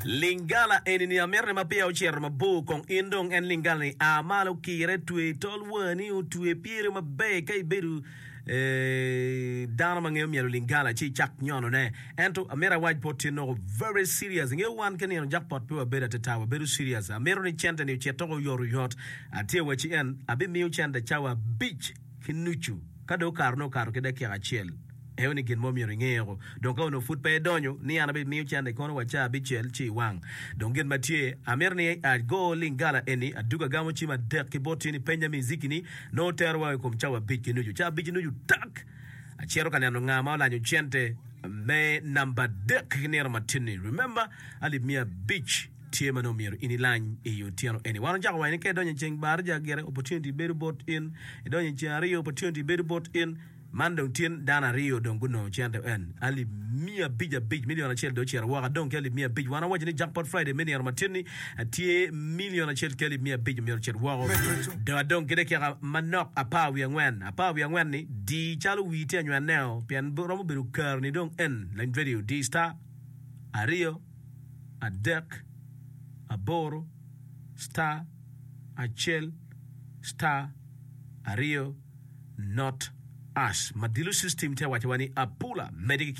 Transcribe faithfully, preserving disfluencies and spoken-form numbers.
Lingala eni ni amito ni ma peya ocito mabor kong in dong en lingala ni a malo kire twe tol wani otwe pyere maber ka ibedo eh, dano ma ngeyo myelo lingala ci icak nyonone ento amito awac bot tye noko very serious ingeyo wan ki nino jackpot pe wabedo atata wabedo serious amito ni cente ni ocit toko oyot oyot atye waci en abimiyo cente cawa abic ki nucu ka dong okato nongo okato ki dakika acel Eo ni gin mo myero ingeo. Dong ka onongo pud pe idonyo, ni an abimiyo cente kono wa caa abicel ci iwang. Dong gin ma tye, amito ni ago lingala eni, adug agamo cim adek ki bot in ipenya miziki ni nongo tero wa i kom cawa abic ki nucu. Caa abic ki nucu tak! Acito ka neno nga ma olanyo cente me namba adek ki nino matin-ni. Remember, alip miya abic tye ma nongo myero in ilany i otyeno eni. Wan ocako waco ni ka idonyo i ceng baraja gire, opportunity bedo bot in. Idonyo i ceng aryo, opportunity bedo bot in. Man dong tin dano aryo dong gunongo cente en alip miya abic abic, million acel dong ocito woko adong ki alip miya abic. Wan awaco ni Jackpot Friday me nino matin ni tye million acel ki alip miya abic myero ocit woko. Dong adong ki dakika manok apar wiye angwen, apar wiye angwen ni di calo wii tye anywenneo pien romo bedo kare ni dong en lany radio di star aryo adek aboro star acel star aryo not us. Madilu system te waco wa ni apula mede ki